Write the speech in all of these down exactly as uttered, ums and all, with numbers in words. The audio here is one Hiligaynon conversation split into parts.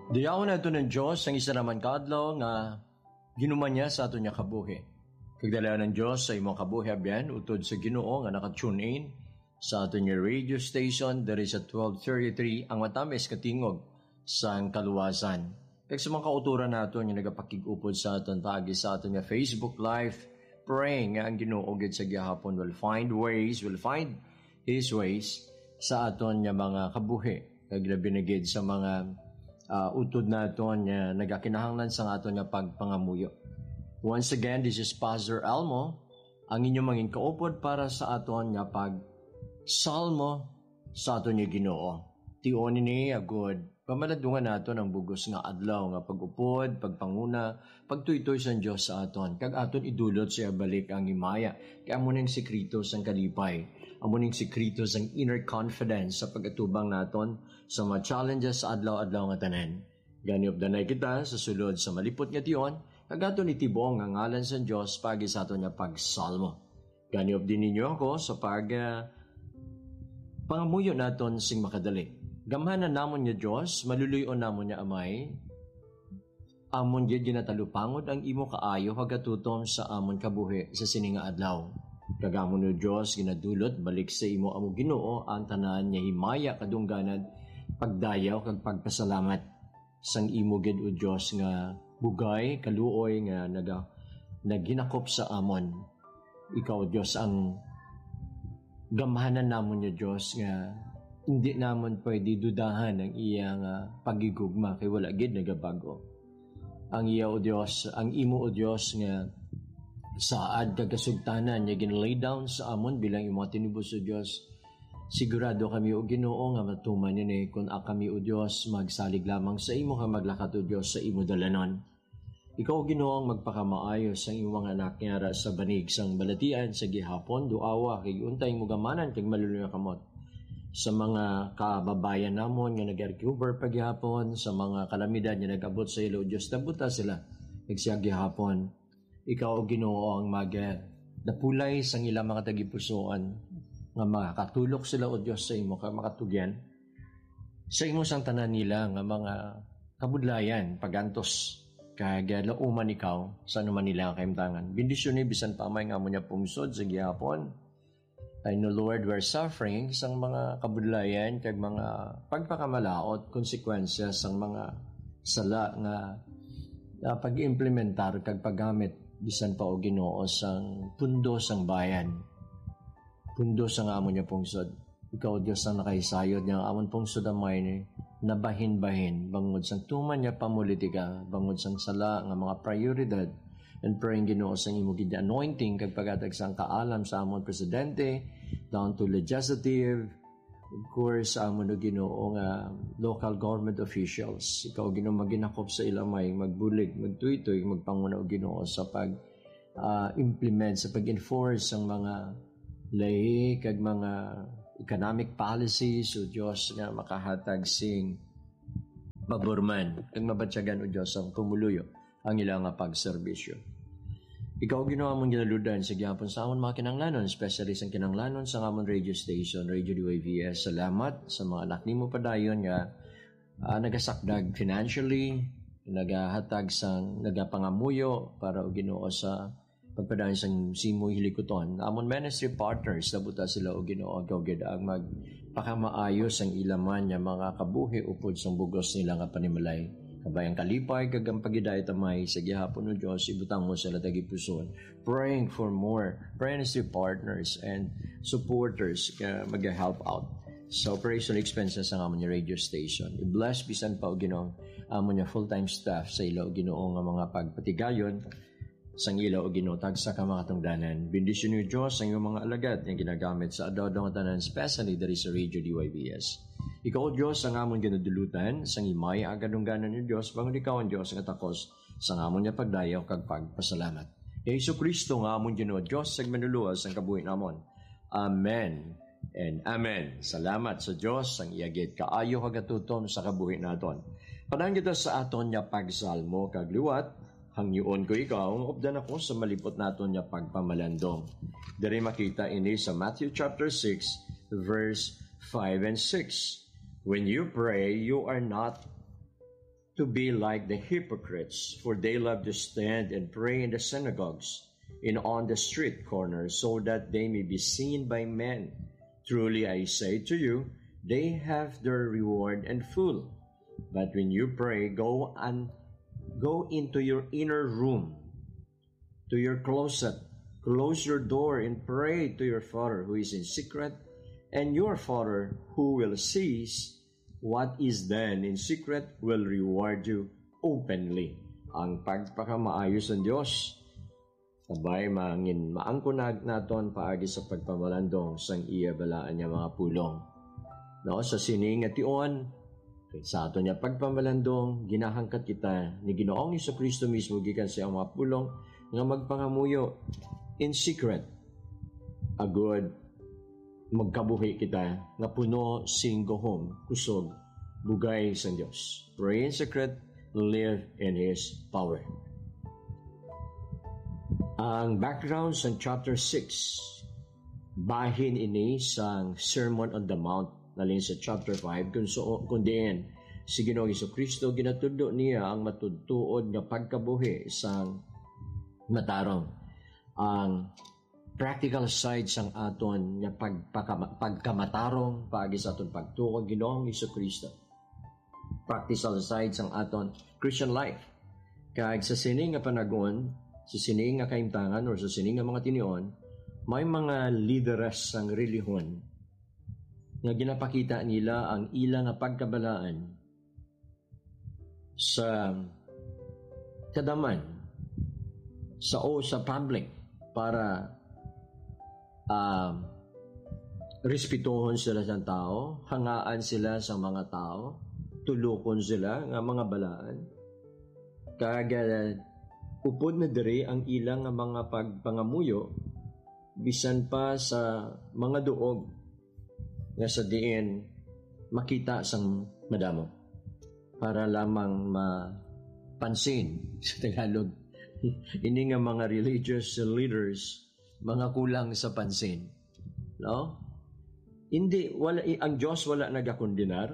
Dayawon nato ng Diyos ang isa naman ka adlaw nga ginuman niya sa aton nga kabuhi. Kagdalayan ng Diyos sa imong kabuhi, abyan, utod sa Ginoo nga naka-tune in sa aton nga radio station diri sa twelve thirty-three, ang matamis katingog sang kaluwasan. Kag sa mga kauturan naton nga nagapakig-upod sa aton paagi sa aton nga Facebook Live, praying nga ang Ginoo gid sa gihapon will find ways, will find His ways sa aton nga mga kabuhi, kag labi na gid sa mga, ah, utod naton nga nagakinahanglan sa aton nga pagpangamuyo. Once again, this is Pastor Elmo, ang inyong mangin kaupod para sa aton nga pagsalmo sa aton nga Ginoo. Tion ini, agod pamaladungan naton ang bugos nga adlaw nga pag-upod, pagpanguna, pagtuytoy sang Dios sa aton, kag aton idulot sa iya balik ang himaya, kay amo ning sikreto sang kalipay, amo ning sikreto sang inner confidence sa pag-atubang naton sa mga challenges sa adlaw-adlaw nga tanan. Gani, updanay kita sa sulod sa malipot nga tion, kag aton itibong ang ngalan sang Dios paagi sa aton nga pagsalmo. Gani, updi ninyo ako sa pag, ah, pangamuyo naton sing makadali. Gamhanan namon nga Dios, maluluy-on namon nga Amay, amon gid ginatalupangod ang imo kaayo kag katutom sa amon kabuhi sa sini nga adlaw. Kag amon, O Dios, ginadulot balik sa imo, amo Ginoo, ang tanan nga himaya, kadungganan, pagdayaw, kag pagpasalamat sang imo gid, O Dios, nga bugay, kaluoy nga naga-, naghinakop sa amon. Ikaw, O Dios, ang gamhanan namon, O Dios, nga hindi namon pwede dudahan ang iya nga paghigugma, kay wala gid nagabago. Ang iya, O Dios, ang imo, O Dios, nga saad kag kasugtanan nga gin-lay down sa amon bilang imo mga tinubos, O Dios. Sigurado kami, O Ginoo, nga matuman ini kon ang kami, O Dios, magsalig lamang sa imo kag maglakat, O Dios, sa imo dalanon. Ikaw, Ginoo, ang magpakamaayo sang imo mga anak nga ara sa banig sang balatian sa gihapon, duawa kag unta imo gamhanan kag maluluy nga kamot sa mga kababayan namon nga nag-recover pa gihapon sa mga kalamidad nga nag-abot sa ila, O Dios, nabuta sila kag siya gihapon. Ikaw, O Ginoo, ang mag-, napulay sang ilang mga tagipusoon, nga makatulok sila, O Dios, sa imo, kag makatugyan sa imo sang tanan nila nga mga kabudlayan, pagantos, kag, ah, lauman ikaw sa anuman nila nga kahimtangan. Bendisyoni bisan pa may nga amo niya pungsod sa gihapon. I know, Lord, we're suffering sang mga kabudlayan kag mga pagpakamalaot, konsekwensya sang mga sala nga, ah, pag-implementar kag paggamit bisan pa, O Ginoo, sang pundo sang bayan, pundo sang amo niya pungsod. Ikaw, Dios, ang nakahisayod nga ang amon pungsod, Amay, ni nabahin-bahin bangod sang tuman nga pamulitika, bangod sang sala nga mga prioridad. And praying, Ginoo, sang imo gid anointing kag paghatag sang kaalam sa amon presidente, down to legislative, of course, sa amon, O Ginoo, nga local government officials. Ikaw, Ginoo, maginakop sa ila, Amay, magbulig, magtuytoy, magpanguna, O Ginoo, sa pag, ah, implement, sa pag-enforce sang mga lahi kag mga economic policies, O Dios, nga makahatag sing pabor man kag mabatyagan, O Dios, ang pumuluyo ang ila nga pagserbisyo. Ikaw, Ginoo, amon ginaludan sa gihapon sa amon mga kinahanglanon, especially sang kinahanglanon sa amon radio station, Radio D Y V S. Salamat sa mga anak nimo padayon nga, ah, nagasakdag financially, nagahatag sang, nagapangamuyo para, O Ginoo, sa pagpadayon sang simo hilikuton. Amon ministry partners, nabuta sila, O Ginoo, ikaw gid ang magpakamaayo sang ila man nga mga kabuhi upod sang bugos nila nga panimalay. Kabay ang kalipay kag ang paghidait, Amay, sa gihapon, O Dios, ibutang mo sila tagipuson. Praying for more ministry partners and supporters nga mag-help out sa operation expenses sang amon nga radio station. I-bless bisan pa, O Ginoo, amon nga full-time staff sa ila, O Ginoo, nga mga pagpatigayon sang ila, O Ginoo, tagsa ka mga tungdanan. Bendisyoni, O Dios, ang iyong mga alagad nga ginagamit sa adlaw-adlaw nga tanan, especially diri sa Radio D Y V S. Ikaw, O Dios, ang amon ginadulutan sang himaya kag kadungganan, O Dios, bangod ikaw ang Dios nga takos sang amon nga pagdayaw kag pagpasalamat. Kay Jesu-Cristo nga amon Ginoo, Dios, kag Manluluwas sang kabuhi namon. Amen and amen. Salamat sa Dios, ang iya gid kaayo kag katutom sa kabuhi naton. Padaan kita sa aton nga pagsalmo kag liwat, hangyoon ko ikaw nga updan ako sa malipot naton nga pagpamalandong. Diri makita ini sa Matthew chapter six, verse five and six. When you pray, you are not to be like the hypocrites, for they love to stand and pray in the synagogues and on the street corners, so that they may be seen by men. Truly I say to you, they have their reward in full. But when you pray, go and go into your inner room, to your closet, close your door and pray to your Father who is in secret, and your Father who will sees what is done in secret will reward you openly. Ang pagpakamaayo sang Dios, sabay mangin maangkunag naton paagi sa pagpamalandong sang iya balaan nga mga pulong. No, sa sini nga tion, sa aton nga pagpamalandong, ginahangkat kita ni Ginoong Jesu-Cristo mismo gikan sa iyang mga pulong nga magpangamuyo in secret, agud magkabuhi kita nga puno sing gahom, kusog, bugay sang Dios. Pray in secret, live in His power. Ang background sang chapter six, bahin ini sang Sermon on the Mount, nalin sa chapter five, kung so, kung diin si Ginoong Jesu-Cristo ginatudlo niya ang matutuod nga pagkabuhi sang matarong. Ang practical side sang aton nga pagpakama-, pagkamatarong paagi sa aton pagtuo kang Ginoong Jesu-Cristo. Practical side sang aton Christian life. Kag sa sini nga panagon, sa sini nga kahimtangan, or sa sini nga mga tinion, may mga lideres sang relihiyon nga ginapakita nila ang ila nga pagkabalaan sa kadaman, sa, o sa public, para, ah, respetuhon sila sa tao, hangaan sila sa mga tao, tulokon sila nga mga balaan. Kag, ah, upod na diri ang ila nga mga pagpangamuyo, bisan pa sa mga duog nga sa diin makita sang madamo, para lamang mapansin sa Tagalog. Ini nga mga religious leaders, mga kulang sa pansin, no? Hindi, wala, i-, ang Dios wala nagakondenar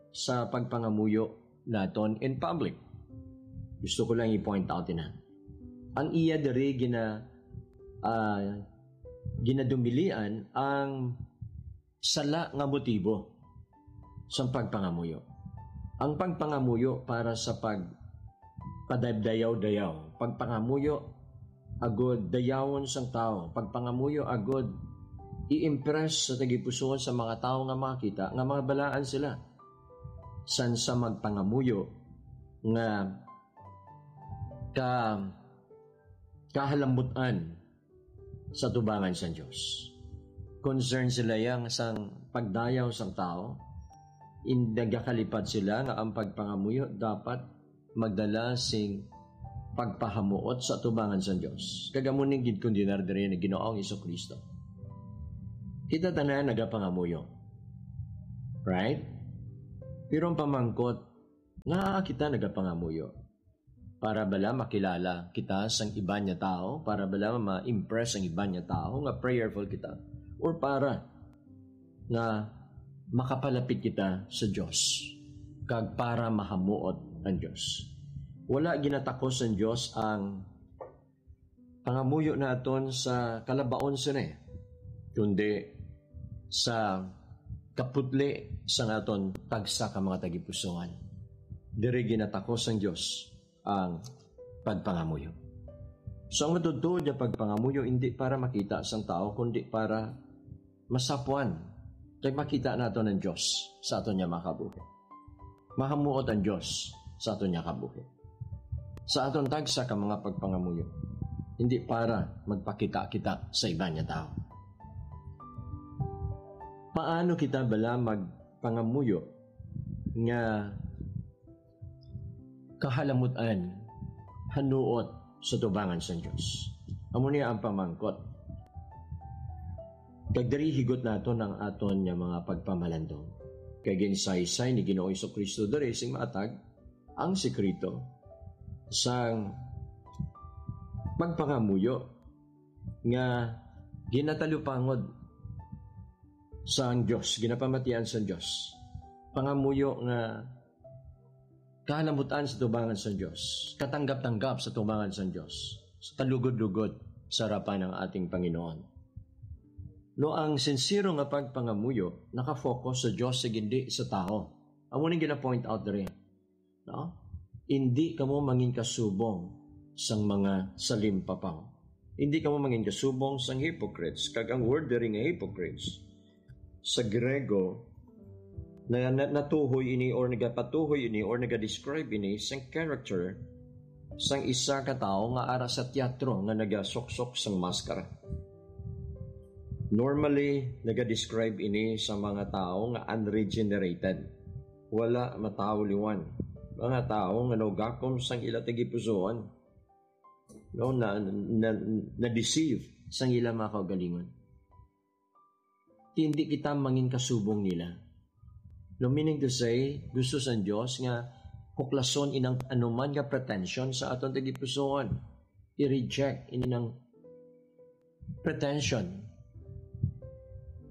sa pagpangamuyo naton in public. Gusto ko lang i-point out ina. Ang iya diri gina-, ah, ginadumilian ang sala nga motibo sang pagpangamuyo. Ang pagpangamuyo para sa pagpadaydayaw-dayaw, pagpangamuyo agud dayawon sang tawo, pagpangamuyo agud i-impress sa tagipusoon sa mga tawo nga makakita nga mga balaan sila, san sa magpangamuyo nga ka-, kahalambutan sa tubangan sang Dios. Concern sila yang sang pagdayaw sang tawo, in nagakalipad sila nga ang pagpangamuyo dapat magdala sing pagpahamuot sa tubangan sang Dios. Kag amo ni ginkondenar diri ni Ginoong Jesu-Cristo. Kita tanan nagapangamuyo. Right? Pero ang pamangkot, nga kita nagapangamuyo? Para bala makilala kita sang iban nga tawo? Para bala ma-impress ang iban nga tawo nga prayerful kita? Or para nga makapalapit kita sa Dios, kag para mahamuot ang Dios? Wala ginatakos sang Dios ang pangamuyo naton sa kalabaon sini, kundi sa kaputli sang aton tagsa ka mga tagipusoan. Diri ginatakos sang Dios ang pagpangamuyo. So, ang matutuod nga pagpangamuyo hindi para makita sang tawo, kundi para masapuan kag makita naton ang Dios sa aton nga mga kabuhi. Mahamuot ang Dios sa aton nga kabuhi, sa aton tagsa ka mga pagpangamuyo, hindi para magpakita kita sa iban nga tawo. Paano kita bala magpangamuyo nga kahalamutan hanuot sa tubangan sang Dios? Amo niya ang pamangkot. Kag diri higot naton ang aton nga mga pagpamalandong. Kay ginsaysay ni Ginoong Jesu-Cristo diri sing maatag ang sekreto sang pagpangamuyo nga ginatalupangod sang Dios, ginapamatian sang Dios. Pangamuyo nga Kahalamutan sa tubangan sa Dios, katanggap-tanggap sa tubangan sa Dios, sa kalugod-lugod sa harapan ng ating Panginoon. No, ang sinsero nga pagpangamuyo nakafocus sa Dios, sa hindi sa tao. Amo ning gina-point out diri, no? Hindi kamo mangin kasubong sang mga salimpapaw. Hindi kamo mangin kasubong sang hypocrites. Kag ang word diri nga hypocrites, sa Grego, na, na natuhoy ini or nagapatuhoy ini or naga-describe ini sang character sang isa ka tawo nga ara sa teatro nga nagasuksok sang maskara. Normally, naga-describe ini sa mga tawo nga unregenerated, wala matawliwan, mga tawo nga naugakom sang ila tagipusoon, no, na, na, na-deceive sang ila mga kaugalingon. Hindi kita mangin kasubong nila. No, meaning to say, gusto sang Dios nga huklason inang anuman nga pretension sa aton tagipusoon. I-reject inang pretension.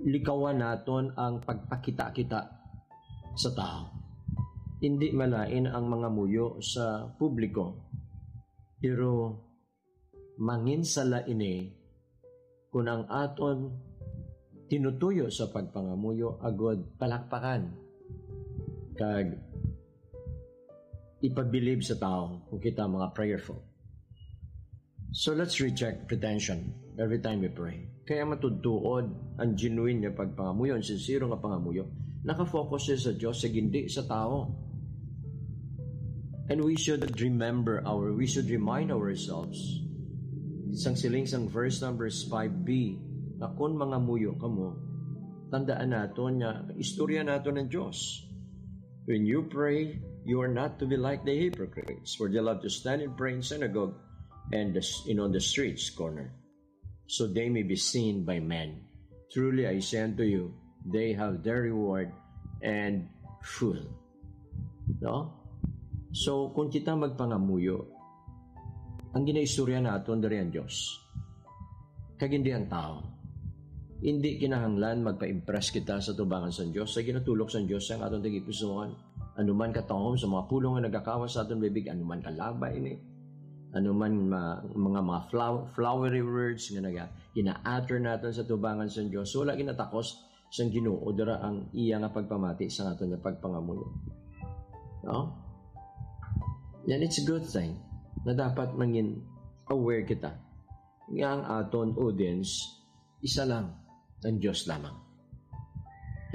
Likawan naton ang pagpakita-kita sa tao. Hindi malain ang mangamuyo sa publiko, pero manginsala ini kon ang aton tinutuyo sa pagpangamuyo agod palakpakan kag ipabilib sa tawo kung kita mga prayerful. So let's reject pretension every time we pray. Kaya matudtuod ang genuine nga pagpangamuyo, ang sincere nga pangamuyo, nakafocus siya sa Dios, sa hindi sa tao. And we should remember our, we should remind ourselves sang siling sang verse numbers five b, nga kon mangamuyo kamo, tandaan naton nga istorya naton ang Dios. When you pray, you are not to be like the hypocrites, for they love to stand and pray in synagogue and the, and on the streets corner, so they may be seen by men. Truly I say unto you, they have their reward and full. No? So, kung kita magpangamuyo, ang ginaistorya naton diri ang Dios, kag hindi ang tao. Hindi kinahanglan magpa-impress kita sa tubangan sang Dios, sa ginatulok sang Dios sa aton tagipusoon. Anuman katahom sa mga pulong nga nagakawas sa aton bibig, anuman kalabay ini, anuman ma-, mga, mga flow-, flowery words nga naga-, gina-utter naton sa tubangan sang Dios, wala ginatakos sang Ginoo dira ang iya nga pagpamati sa aton nga pagpangamuyo. No? And it's a good thing na dapat mangin aware kita nga ang aton audience isa lang, ang Dios lamang.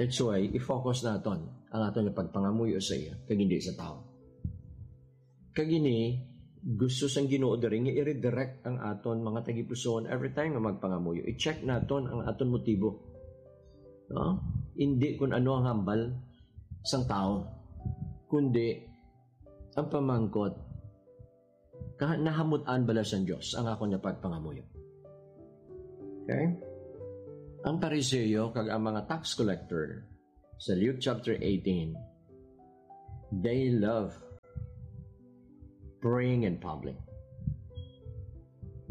That's why i-focus naton ang aton nga pagpangamuyo sa iya kag hindi sa tao. Kag ini, gusto sang Ginoo diri nga i-redirect ang aton mga tagipusoon every time nga magpangamuyo. I-check naton ang aton motibo. No? Hindi kung ano ang hambal sang tao, kundi ang pamangkot, ka-, nahamut-an bala sang Dios ang akon nga pagpangamuyo? Okay? Ang Pariseo kag ang mga tax collector sa Luke chapter eighteen, they love praying in public.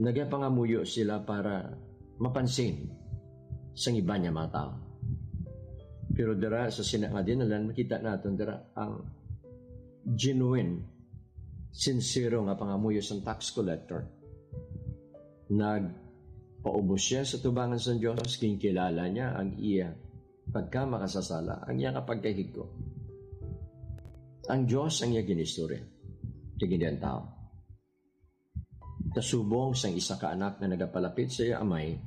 Nagapangamuyo sila para mapansin sang iban nga mga tao. Pero dira sa sina nga dinalan, makita naton dira ang genuine, sincero nga pangamuyo sang tax collector. Nagpaubos siya sa tubangan sang Dios, ginkilala niya ang iya pagkamakasasala, ang iya nga pagkahigko. Ang Dios ang iya ginistorya, kag hindi ang tao. Kasubong sang isa ka anak nga nagapalapit sa iya amay,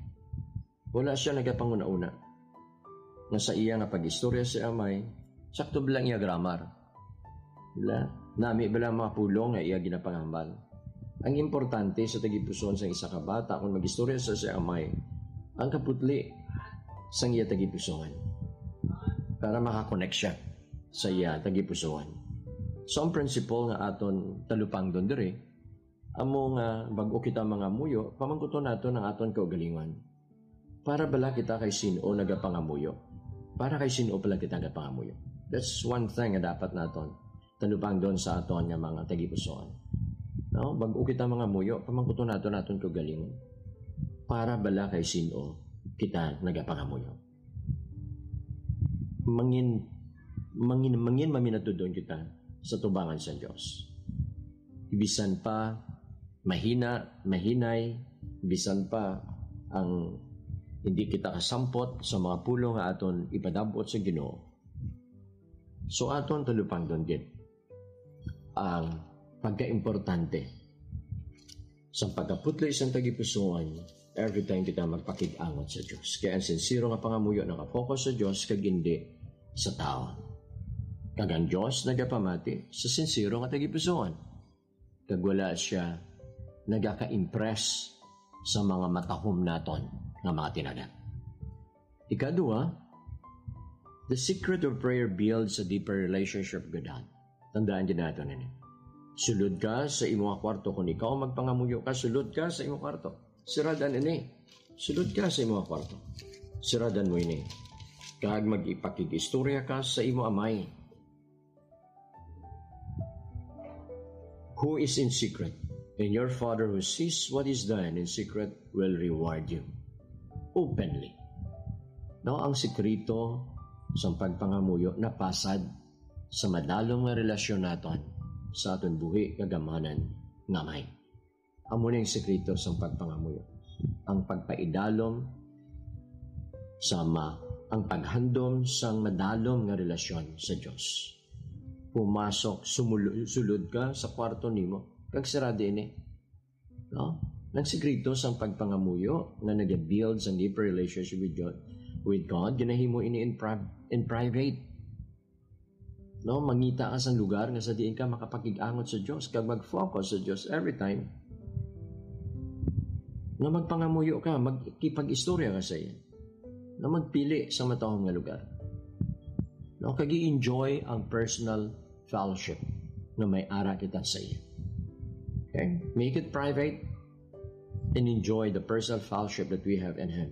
wala sia nagapanguna-una nga sa iya nga pag-istorya sa iya amay, sakto ba lang iya grammar? Wala. Nami ba lang mga pulong nga iya ginapangambal? Ang importante sa tagipusoon sang isa ka bata kung mag-istorya sa siya amay, ang kaputli sang iya tagipusoon para makakonek siya sa iya tagipusoon. So, ang principle nga aton talupangdon diri, amo nga bag-o kita mangamuyo, pamangkuton naton ang aton kaugalingon. Para bala kita kay sin-o nagapangamuyo? Para kay sin-o pala kita nagapangamuyo? That's one thing nga dapat naton talupangdon sa aton nga mga tagipusoon. No? Bag-o kita mangamuyo, pamangkuton naton aton kaugalingon. Para bala kay sin-o kita nagapangamuyo? Mangin, mangin, mangin maminatudon kita sa tubangan sa Dios. Bisan pa mahina, mahinay, bisan pa ang hindi kita kasampot sa mga pulong nga aton ipadab-ot sa Ginoo. So aton talupangdon gid ang pagkaimportante sa pagkaputli sang tagipusoon every time kita magpakig-angot sa Dios. Kaya ang sinsero nga pangamuyo nakafocus sa Dios kag hindi sa tawo. Kag ang Dios nagapamati sa sinsero nga tagipusoon. Kag wala siya nagaka-impress sa mga matahom naton nga mga tinagan. Ikadua, the secret of prayer builds a deeper relationship with God. Tandaan din nato nini. Sulod ka sa imo nga kwarto. Kung ikaw magpangamuyo ka, sulod ka sa imo kwarto. Siradan ini. Sulod ka sa imo nga kwarto. Siradan mo ini. Kag magipakig-istorya ka sa imo amay. Who is in secret? And your Father who sees what is done in secret will reward you openly. No, ang sikreto sa pagpangamuyo napasad sa madalom nga relasyon naton sa aton buhi kag amanan nga Amay. Amo ni ang sekreto sang pagpangamuyo, ang pagpaidalom sa Ama, ang paghandom sang madalom nga relasyon sa Dios. Pumasok, sumul-, sulod ka sa kwarto nimo, kag sirado ini. No? Ang sekreto sang pagpangamuyo nga nag-build sang deeper relationship with God, with God, ginahimo ini in, pri-, in private. No, mangita ka sa lugar nga sa diin ka makapakig-angot sa Dios kag mag-focus sa Dios every time. No, magpangamuyo ka, magkipag-istorya ka sa iya. No, magpili sa matahom nga lugar. No, kag i-enjoy ang personal fellowship nga may ara kita sa iya. Okay? Make it private and enjoy the personal fellowship that we have in Him.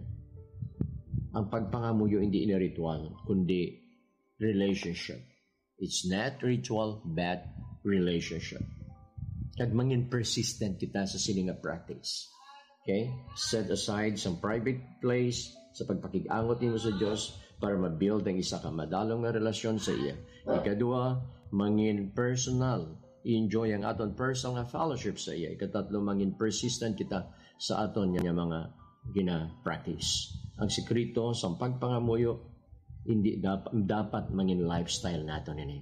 Ang pagpangamuyo hindi ini ritual, kundi relationship. It's not ritual, but relationship. Kag mangin persistent kita sa sini nga practice. Okay? Set aside some private place sa pagpakig-angot nimo sa Dios para ma-build ang isa ka madalom nga relasyon sa iya. Ikadua, mangin personal. Enjoy ang aton personal nga fellowship sa iya. Ikatatlo, mangin persistent kita sa aton nga mga gina-practice. Ang sikreto sa pagpangamuyo, hindi dap-, dapat mangin lifestyle nato nini.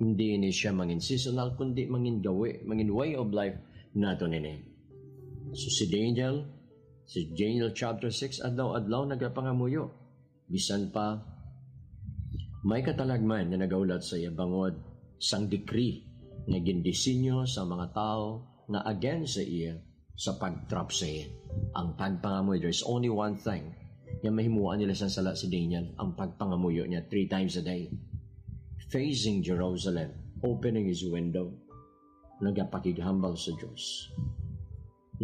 Hindi ni siya mangin seasonal, kundi mangin gawi, mangin way of life nato nini. So si Daniel, si Daniel chapter six, adlaw-adlaw nagapangamuyo. Bisan pa, may katalagman nga nagahulat sa iya bangod sang decree nga gindisenyo sa mga tawo nga against sa iya sa pag-trap sa iya. Ang pagpangamoy, there's only one thing nga mahimuan nila sang sala si Daniel, ang pagpangamuyo niya three times a day. Facing Jerusalem, opening his window, nagapakighambal sa Dios.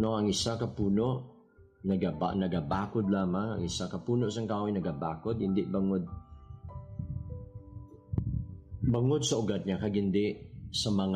No, ang isa ka puno, nagaba-, nagabakod lamang, ang isa ka puno sang kahoy nagabakod, hindi bangod, bangod sa ugat niya, kag hindi sa mga